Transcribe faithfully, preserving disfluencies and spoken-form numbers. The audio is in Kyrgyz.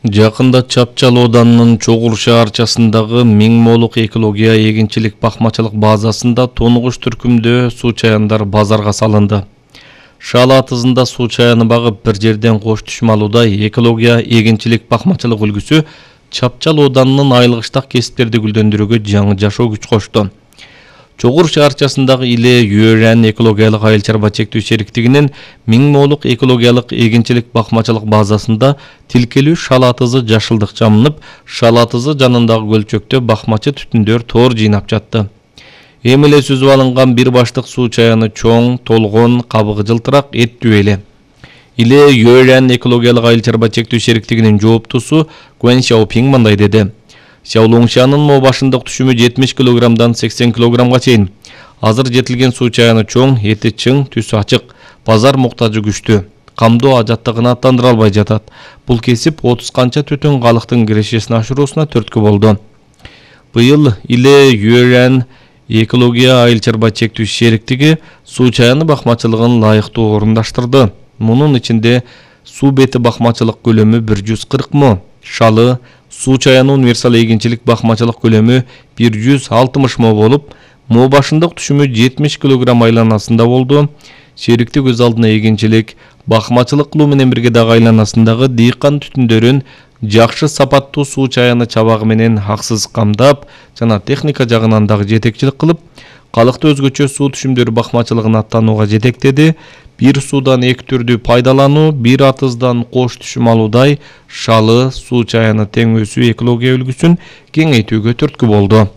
Жакында Чапчал Оданынын Чогур шаарчасындагы миң молук экология эгинчилик бакмачылык базасында тонугуш түркүмдө суу чаяндар базарга салынды. Шал атызында суу чаяны багып бир жерден кош түшмалуудай экология эгинчилик бакмачылык үлгүсү Чапчал Оданынын айылгыштак кесиптерди гүлдөндүрүүгө жаңы жашоо күч кошту. Чогур шаарчасындагы Иле Юөрен экологиялык айыл чарба чектүү шериктигинин миң молук экологиялык эгинчилик бакмачылык базасында тилкелүү шал атызы жашылдык жамынып, шал атызы жанындагы көлчөктө бакмачы түтүндөр тоор жыйнап жатты. Эми эле сүзүп алынган бир баштык суу чаяны чоң, толгон, кабыгы жылтырак, эттүү эле. Иле Юөрен экологиялык айыл чарба чектүү шериктигинин жооптусу Гуэн Шаопинг мындай деди. Сяолоңшанын мо башындык түшүмү жетимиш килограммдан сексен килограммга чейин. Азыр жетилген суу чаяны чоң, эти чың, түсү ачык, базар муктажы күчтүү. Камдоо ажаттыгына аттандыра албай жатат. Бул кесип отуз канча түтүн калыктын кирешесин ашыруусуна түрткү болду. Быйыл Иле Юөрен экология айыл чарба чектүү шериктиги суу чаяны бакмачылыгын лайыктуу орундаштырды. Мунун ичинде суу бети бакмачылык көлөмү бир жүз кырк мо, шалы, суу чаяны универсал эгинчилик бакмачылык көлөмү бир жүз алтымыш мо болуп, мо башындык түшүмү жетимиш килограмм айланасында болду. Шериктик өз алдына эгинчилик бакмачылык кылуу менен бирге дагы айланасындагы дыйкан түтүндөрүн жакшы сапаттуу суу чаяны чабагы менен аксыз камдап жана техника жагынан дагы жетекчилик кылып, калыкты өзгөчө суу түшүмдөрү бакмачылыгына аттанууга жетектеди. Бир суудан эки түрдүү пайдалануу, бир атыздан кош түшүм алуудай шалы, суу чаяны тең өсүү экология үлгүсүн кеңейтүүгө түрткү болду.